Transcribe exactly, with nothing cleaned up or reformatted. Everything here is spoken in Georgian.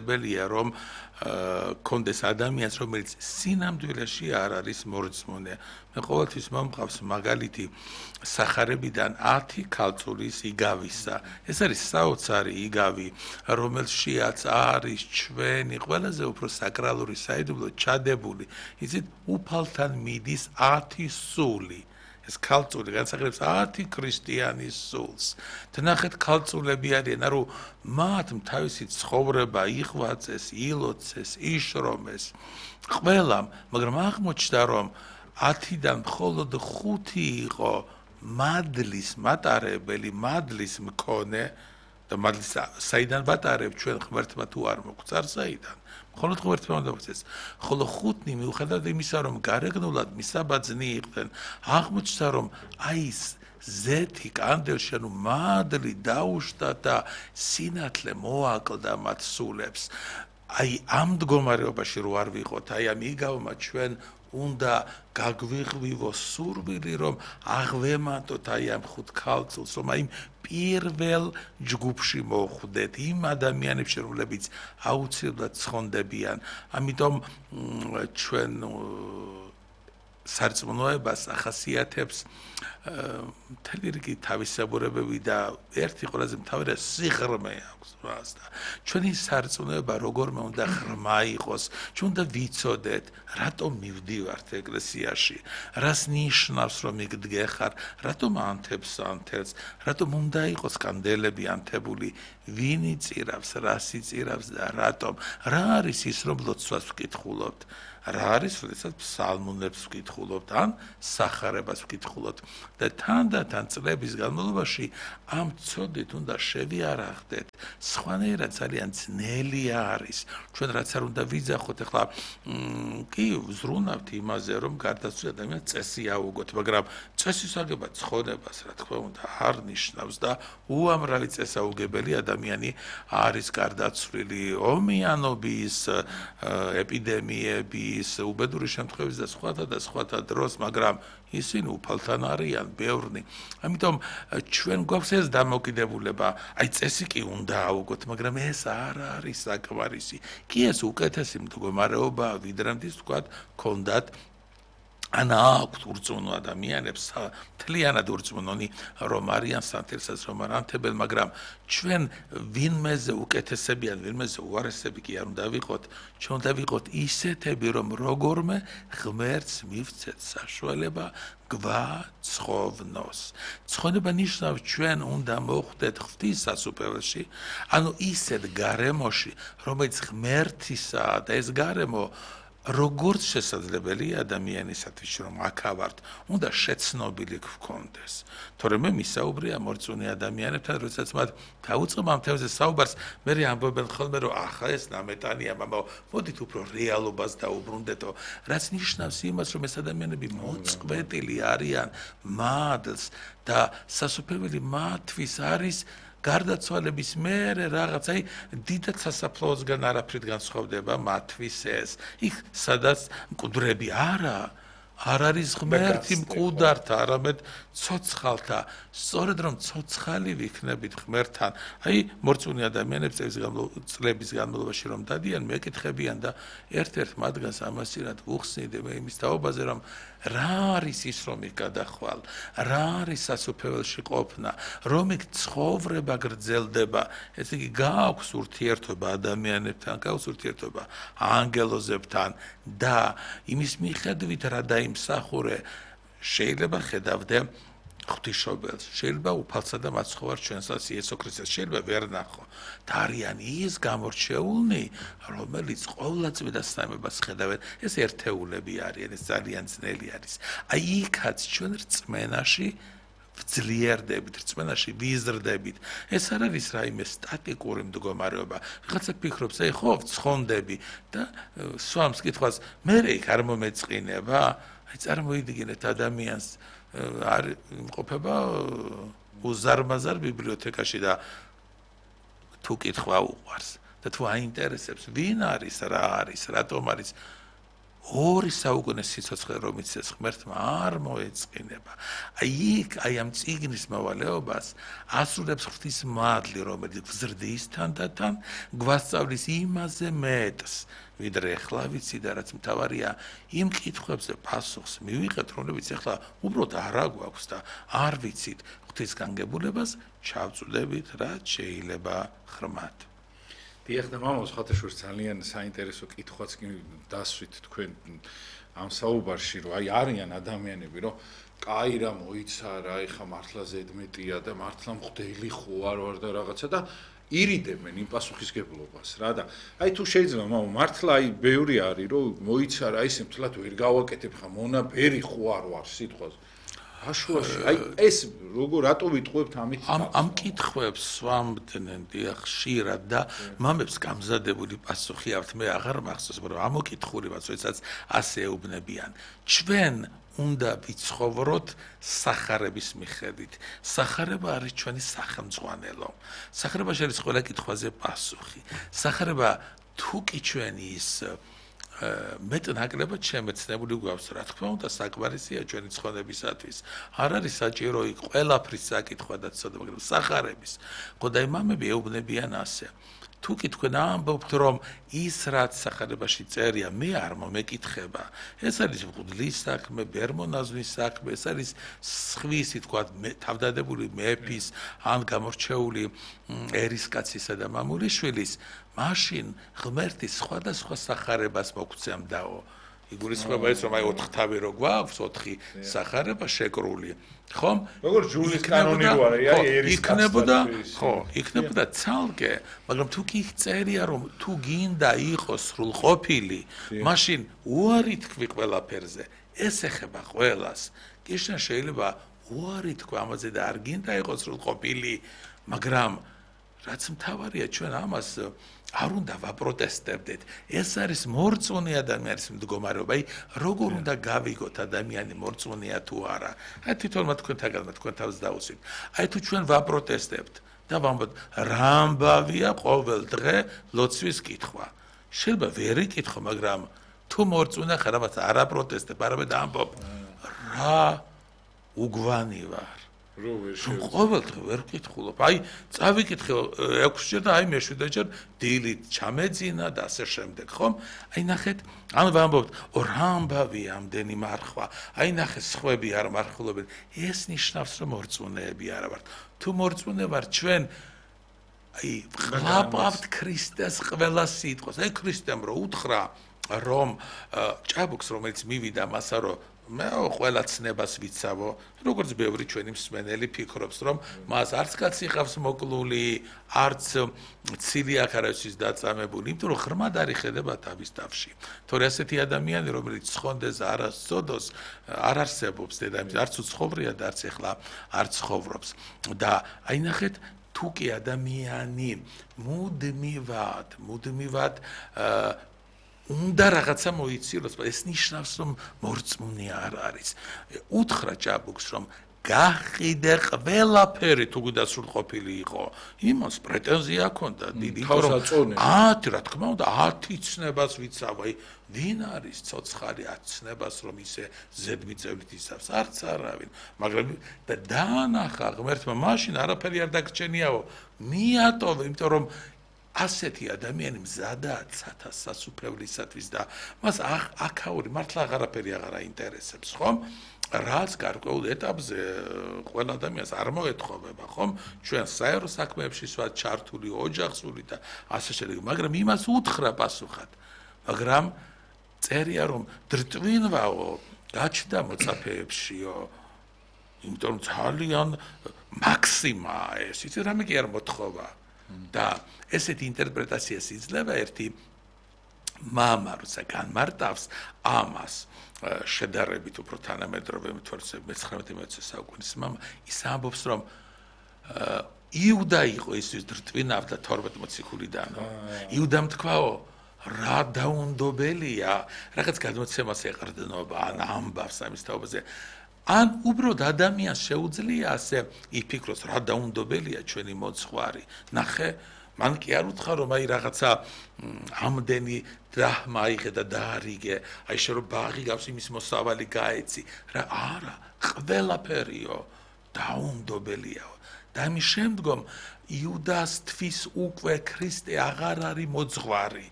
ებელია რომ კონდეს ადამიანს რომელიც სინამდვილეში არ არის მორწმუნე. მე ყოველთვის მომყავს მაგალითი სახარებიდან ათი ქალწულის იგავისა. ეს არის საოცარი იგავი, რომელშიაც არის ჩვენი ყველაზე უფრო საკრალური საიდუმლო ჩადებული. იცით, უფალთან მიდის ათი სული. ეს ქალწული განსახილებს ათი ქრისტიანის სულს. ვნახეთ ქალწულები არიან, ანუ მათ თავისი ცხოვრება იღვაწეს, ილოცეს, იშრომეს. ყველამ, მაგრამ აღმოჩნდა რომ ათიდან მხოლოდ ხუთი იყო მადლის მატარებელი, მადლის მქონე და მადლის საიდან ვატარებ ჩვენ ღმერთმა თუ არ მოგვწარ საიდან. მხოლოდ ღმერთმა უნდა მოგვწეს. ხოლო ხუთნი მიუხედავად იმისა, რომ გარეგნულად მისაბაძნი იყვნენ, აღმოჩნდა რომ აი ეს ზეთი კანდელში, ანუ მადლი დაუშვა და სინათლე მოაკლდა მათ სულებს. აი ამ მდგომარეობაში რო არ ვიყოთ, აი ამ იგავმა ჩვენ უნდა გაგვიღვივო სურვილი, რომ აღვემატოთ აი ამ ხუთ ქალწულს, რომ აი პირველ ჯგუფში მოხვდეთ იმ ადამიანებში, რომლებიც აუცილებლად ცხონდებიან. ამიტომ ჩვენ სარწმუნოებას ახასიათებს მთელი რიგი თავისებურებები და ერთი ყველაზე მთავარი სიღრმე აქვს მას და ჩვენი სარწმუნოება როგორმე უნდა ღრმა იყოს, ჩვენ უნდა ვიცოდეთ, რატომ მივდივართ ეკლესიაში, რას ნიშნავს რომ იქ დგეხარ, რატომ ანთებს ანთელს, რატომ უნდა იყოს კანდელები ანთებული, ვინ იწირავს, რას იწირავს და რატომ, რა არის ის რომ ლოცვას ვკითხულობთ. რა არის, როდესაც ფსალმუნებს ვკითხულობთ, ან სახარებას ვკითხულობთ და თანდათან წლების განმავლობაში ამ ცოდით უნდა შევიარაღდეთ. სხვანაირად ძალიან ძნელი არის. ჩვენ რაც არ უნდა ვიძახოთ, ახლა კი ვზრუნავთ იმაზე, რომ გარდაცვლილი ადამიანს წესი აუგოთ, მაგრამ წესის აგება ცხონებას, რა თქმა უნდა, არ ნიშნავს და უამრავი წესაუგებელი ადამიანი არის გარდაცვლილი ომიანობის, ეპიდემიების, უბედური შემთხვევების და სხვათა და სხვათა დროს, მაგრამ ისინი უფალთან არიან ბევრნი. ამიტომ ჩვენ გვაქვს ეს დამოკიდებულება, აი წესი კი უნდა აუგოთ, მაგრამ ეს არ არის საკმარისი. კი ეს უკეთესი მდგომარეობა, ვიდრე თქვათ, ქონდათ ან აქვთ ურწმუნო ადამიანებს, მთლიანად ურწმუნონი რომ არიან სანთელსაც რომ არ ანთებენ, მაგრამ ჩვენ ვინმეზე უკეთესებიან, ვინმეზე უარესები კი არ უნდა ვიყოთ, ჩვენ უნდა ვიყოთ ისეთები, რომ როგორმე ღმერთს მივცეთ საშუალება გვაცხოვნოს. ცხონება ნიშნავს ჩვენ უნდა მოხვდეთ ღვთის სასუფეველში, ანუ ისეთ გარემოში, რომელიც ღმერთისაა და ეს გარემო როგორც შესაძლებელია ადამიანისათვის, რომ აქავართ, უნდა შეცნობილი გქონდეს. თორემ მე მისაუბრია მორწმუნე ადამიანებთან, როდესაც მათ დაუწყებ ამ თემაზე საუბარს, მე ამბობენ ხოლმე, რომ ახლა ეს ნამეტანია, მამაო, მოდით უფრო რეალობას დაუბრუნდეთო, რაც ნიშნავს იმას, რომ ეს ადამიანები მოწყვეტილი არიან მადლს და სასופველი მათთვის არის გარდაცვალების მერე რაღაც, აი დიდად სასაფლაოსგან არაფრით განსხვავდება მათთვის ეს. იქ სადაც მკვდრები არა, არ არის ღმერთი მკვდართა, არამედ ცოცხალთა. სწორედ რომ ცოცხალი ვიქნებით ღმერთთან, აი მორწმუნე ადამიანებს წლების განმავლობაში რომ დადიან, მეკითხებიან და ერთ-ერთ მათგანს ამასწრად უხსნიდი მე იმის თაობაზე, რომ რა არის ის რომ იქ გადახვალ, რა არის სასופველში ყოფნა, რომ იქ ცხოვრება გრძელდება, ესე იგი გააქვს ურთიერთობა ადამიანებთან, გააქვს ურთიერთობა ანგელოზებთან და იმის მიხედვით რა დაიმსახურე, შეიძლება ხედავდე ღვთისმშობელს, შეიძლება უფალსა და მაცხოვარ ჩვენსაც იესო ქრისტეს, შეიძლება ვერ ნახო და არიან ის გამორჩეულნი, რომელიც ყოვლადწმიდა სამებას ხედავენ, ეს ერთეულები არიან, ეს ძალიან ძნელი არის. აი იქაც ჩვენ რწმენაში ვძლიერდებით, რწმენაში ვიზრდებით. ეს არ არის რაიმე სტატიკური მდგომარეობა. ვიღაცა ფიქრობს, აი ხო ვცხონდები და სვამს კითხვას, მე იქ არ მომეწყინება, აი წარმოიდგინეთ ადამიანს არ იმყოფება უზარმაზარ ბიბლიოთეკაში და თუ კითხვა უყვარს და თუ აინტერესებს ვინ არის, რა არის, რატომ არის, ორი საუკუნის სიცოცხლე რომ იცეს ღმერთმა არ მოეწყინება. აი იქ აი ამ წიგნის მოვალეობას ასრულებს ღვთის მადლი, რომელიც გზრდის თანდათან გვასწავლის იმაზე მეტს, ვიდრე ახლა ვიცი და რაც მთავარია იმ კითხვებზე პასუხს მივიღეთ, რომლებიც ახლა უბრალოდ არ აგვაქვს და არ ვიცით ღვთის განგებულებას ჩავწვდებით, რაც შეიძლება ღრმად. დიახ და მამოს ხათაშვილს ძალიან საინტერესო კითხვაც კი დასვით თქვენ ამ საუბარში, რომ აი არიან ადამიანები, რომ კაი რა მოიცარა, ეხა მართლა ზედმეტია და მართლა მღვდელი ხო არ ვარ და რაღაცა და ირიდებენ იმ პასუხისგებლობას რა და აი თუ შეიძლება მამო მართლა აი ბევრი არის რომ მოიცარა ისე მთლად ვერ გავაკეთებ ხა მონაბერი ხო არ ვარ სიტყვაზე აშუაში აი ეს როგორ რატო ვიტყუებთ ამით ამ ამ კითხვებს სვამდნენ დიახ ხშირად და მამებს გამზადებული პასუხი აქვთ მე აღარ მახსოვს მაგრამ ამოკითხული ვაცოიცაც ასე ეუბნებიან ჩვენ უნდა ვიცხოვროთ სახარების მიხედვით. სახარება არის ჩვენი სახელმძღვანელო. სახარებაში არის ყველა კითხვაზე პასუხი. სახარება თუ კი ჩვენი ის მეტნაკლებად შემეცნებული გვაქვს, რა თქმა უნდა, საკმარისია ჩვენი ცხოვრებისათვის. არ არის საჭირო იქ ყველაფრის საკითხვა და ცოტა, მაგრამ სახარების. ხო და იმამები ეუბნებიან ასე. თუ კი თქვენ ამბობთ, რომ ის რაც სახარებაში წერია, მე არ მომეკითხება. ეს არის მღვდლის საქმე, ბერმონაზვის საქმე, ეს არის სხვისი, თქვა, თავდადებული მეფის, ან გამორჩეული ერისკაცისა და მამულიშვილის, მაშინ ღმერთი სხვადასხვა სახარებას მოგცემდაო. იგულისხმება ის, რომ აი ოთხთავი რო გვაქვს, ოთხი სახარება შეკრული. ხომ? როგორ ჯულის კანონი რო არის, აი ერისკაცი. იქნებოდა, ხო, იქნებოდა ცალკე, მაგრამ თუ კი წერია, რომ თუ გინდა იყოს სრულყოფილი, მაშინ უარი თქვი ყველაფერზე. ეს ეხება ყველას. კიშნა შეიძლება უარი თქვა ამაზე და არ გინდა იყოს სრულყოფილი, მაგრამ რაც მთავარია ჩვენ ამას არ უნდა ვაპროტესტებდეთ. ეს არის მორწმუნე ადამიანის მდგომარეობა. აი, როგორ უნდა გავიგოთ ადამიანი მორწმუნეა თუ არა? აი, თვითონმა თქვენთაგან თქვენ თავს დაუსვით. აი, თუ ჩვენ ვაპროტესტებთ და ვამბობთ, რა ამბავია ყოველ დღე ლოცვის კითხვა. შეიძლება ვერ იკითხო, მაგრამ თუ მორწმუნე ხარ, ამას არ აპროტესტებ, არამედ ამბობ, რა უგვანი ვარ. რომ ყოველდღე ვერ ვკითხულობ. აი, წავიკითხე ექვსჯერ და აი მეშვიდეჯერ დილით ჩამეძინა და ასე შემდეგ, ხომ? აი ნახეთ, ან ვამბობთ, რა ამბავია ამდენი მარხვა. აი ნახე, სხვები არ მარხულობენ. ეს ნიშნავს, რომ მორწმუნეები არა ვართ. თუ მორწმუნე ვარ, ჩვენ აი ვყლაპავთ ქრისტეს ყველა სიტყვას. აი ქრისტემ რო უთხრა, რომ ჭაბუკს რომელიც მივიდა მასა რომ მე ყველა ცნებას ვიცავო, როგორც ბევრი ჩვენი მსმენელი ფიქრობს, რომ მას არც კაცი ხავს მოკლული, არც ცილი აქ არავის დაწამებული, იმიტომ რომ ღრმად არის ხედება თავის თავში. თორე ასეთი ადამიანი, რომელიც ცხონდეს არასწოდოს, არ არსებობს დედამიწაზე, არც უცხოვრია და არც ეხლა არ ცხოვრობს. და აი ნახეთ, თუ კი ადამიანი მუდმივად, მუდმივად უნდა რაღაცა მოიცილოს, ეს ნიშნავს, რომ მორწმუნე არ არის. უთხრა ჭაბუკს, რომ გაყიდე ყველაფერი თუ გვიდა სრულყოფილი იყო. იმას პრეტენზია ჰქონდა დიდი, რომ ათი, რა თქმა უნდა, ათი ცნებას ვიცავ, აი, ვინ არის ცოცხალი ათი ცნებას, რომ ისე ზედმიწევლით იცავს, არც არავინ. მაგრამ და დაანახა ღმერთმა, მაშინ არაფერი არ დაგრჩენიაო. მიატოვე, იმიტომ რომ ასეთი ადამიანი მზადაა ცათა სასუფევლისათვის და მას აქაური მართლა აღარაფერი აღარ აინტერესებს, ხომ? რაც გარკვეულ ეტაპზე ყველა ადამიანს არ მოეთხოვება, ხომ? ჩვენ საერო საქმეებში სვათ ჩართული, ოჯახსული და ასე შემდეგ, მაგრამ იმას უთხრა პასუხად. მაგრამ წერია რომ დრტვინვაო, გაჩნდა მოწაფეებშიო. იმიტომ რომ ძალიან მაქსიმაა ეს, იცი რამე კი არ მოთხოვა. და ესეთი ინტერპრეტაციას იძლევა ერთი მამა, როცა განმარტავს ამას შედარებით უფრო თანამედროვე მეცხრამეტე საუკუნის მამა, ის ამბობს, რომ იუდა იყო ისის დრტვინავდა თორმეტ მოციქულიდან. იუდამ თქვაო, რა დაუნდობელია, რაღაც გადმოცემას ეყრდნობა, ან ამბავს ამის თაობაზე. ან უბრალოდ ადამიანს შეუძლია ასე იფიქროს, რა დაუნდობელია ჩვენი მოძღვარი. ნახე, მან კი არ უთხრა რომ აი რაღაცა ამდენი დრაჰმა აიღე და დაარიგე, აი შე რომ ბაღი გავს იმის მოსავალი გაეცი, რა არა, ყველაფერიო დაუნდობელიაო. და ამის შემდგომ იუდას თვის უკვე ქრისტე აღარ არის მოძღვარი,